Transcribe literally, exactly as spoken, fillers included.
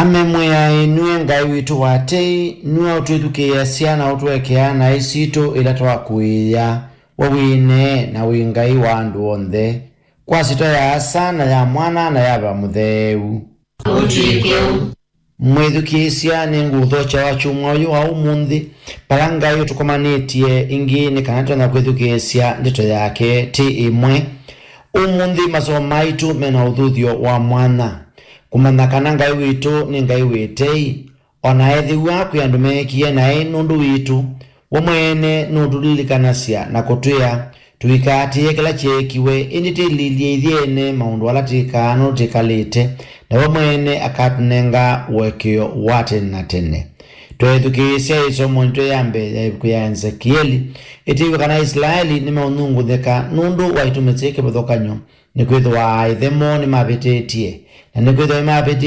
Amemwĩa, ĩ nue Ngai witũ wa tei, nue ũtwĩthukĩĩasya na ũtũekea naĩ sitũ ĩla twakũĩĩa. We wĩ ĩnee na wĩ Ngai wa andũ onthe, kwa syĩtwa ya Asa, na ya Mwana, na ya Veva Mũtheu. Ũtw'ĩke ũu. Mwĩthukĩĩsya, nĩngũũthokya wakyumwa ũyũ wa ũmũnthĩ, vala Ngai ũtũkomanĩtye ĩngĩ nĩ kana tũtonya kwĩthukĩĩsya ndeto yake tĩ ĩmwe. Ũmũnthĩ masomo maitũ mena ũthuthyo wa mwanya, kũmanya kana Ngai witũ nĩ Ngai wĩ tei, o na ethĩwa kwĩ andũ meekie naĩ nũndũ witũ. We mwene nũtũlilikanasya na kũtwĩa tũikaatĩĩe kĩla kyeekiwe, ĩndĩ twĩlilye ithyĩ ene maũndũ ala twĩkaa nũndũ twĩkalĩte, na we mwene akatũnenga ũekeo wa tene na tene. Tweethukĩĩsya ĩsomo yitũ ya mbee ya ĩvuku ya Ezekieli, ĩtwĩw'a kana Isilaeli nĩmeũnyungunyĩka nũndũ wa itumi syĩ kĩvathũkany'o, nĩkwĩthĩwa aaĩthe moo nĩmavĩtĩtye, na nĩkwĩthĩwa nĩmavĩtĩtye